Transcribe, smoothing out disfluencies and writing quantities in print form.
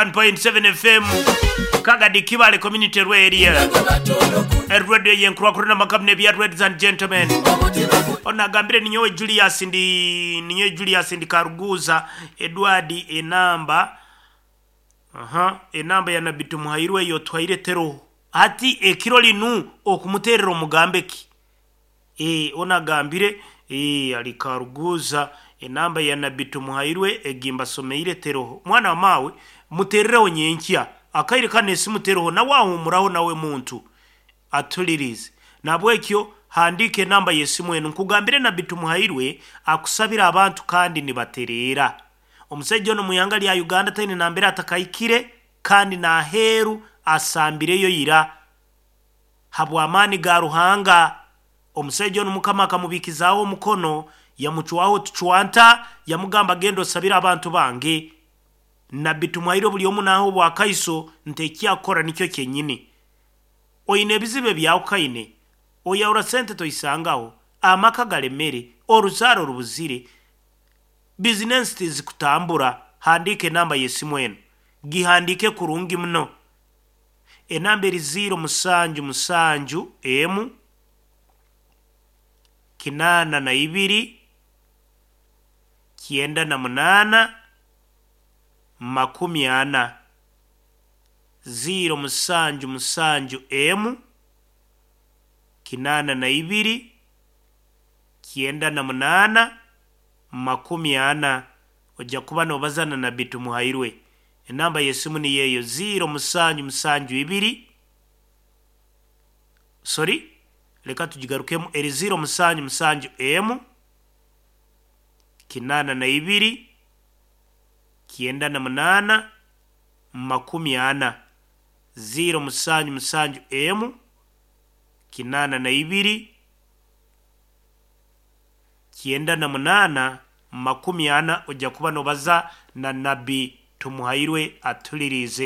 1.7 FM Kagadi Kibale Community Radio Radio yenkurwakuru n'amakabune bya ladies and gentlemen ono agambire ninyowe Julius ndi ninyowe Julius ndi Karuguza Edward enamba aha enamba ya Nabbi Tumuhairwe eyo twaire teroho hati ekiro linu okumuterera omugambe ki Eeh onu agambire eeh ari Karuguza enamba ya Nabbi Tumuhairwe egi mbasomeire teroho. Mwana wa maawe muterereho nyenkya akaire kanu esimu teroho nawe ahumuraho nawe muntu atulirize. Nahabwekyo handiika enamba y'esimu enu nkugambire Nabbi Tumuhairwe akusabira abantu kandi nibatereera. Omusaija onu omu ihanga rya Uganda taine nambere atakahikire kandi n'aheeru asambireyo ira. Habw'amaani ga Ruhanga, omusaija onu Mukama akamubikizaaho omukono, yamucwaho otucwanta, yamugamba, Genda osabire abantu bange. Nabbi Tumwaire buli omu naaha obwakaiso nti eki akora nikyo kyenyini. Oine ebizibu ebyahukaine, oyahura sente toisangaho, amaka galemere, oruzaaro rubuzire, bizinensi tizikutambura, handiika enamba y'esimu enu. Gihandiike kurungi muno. Enamba eri ziiro musanju musanju emu, kinaana na ibiri, kyenda na munaana, 40. Ziiro musanju musanju emu, 82, 98, 40. Oja kuba noobaza na Nabbi Tumuhairwe. Enamba y'esimu niyo eyo, ziiro musanju musanju ibiri, sorry, leka tugigarukemu, eri ziiro musanju musanju emu, 82, 98, 40. Ziiro musanju musanju emu, 82, 98, 40 oja kuba noobaza na Nabbi Tumuhairwe atuliriize.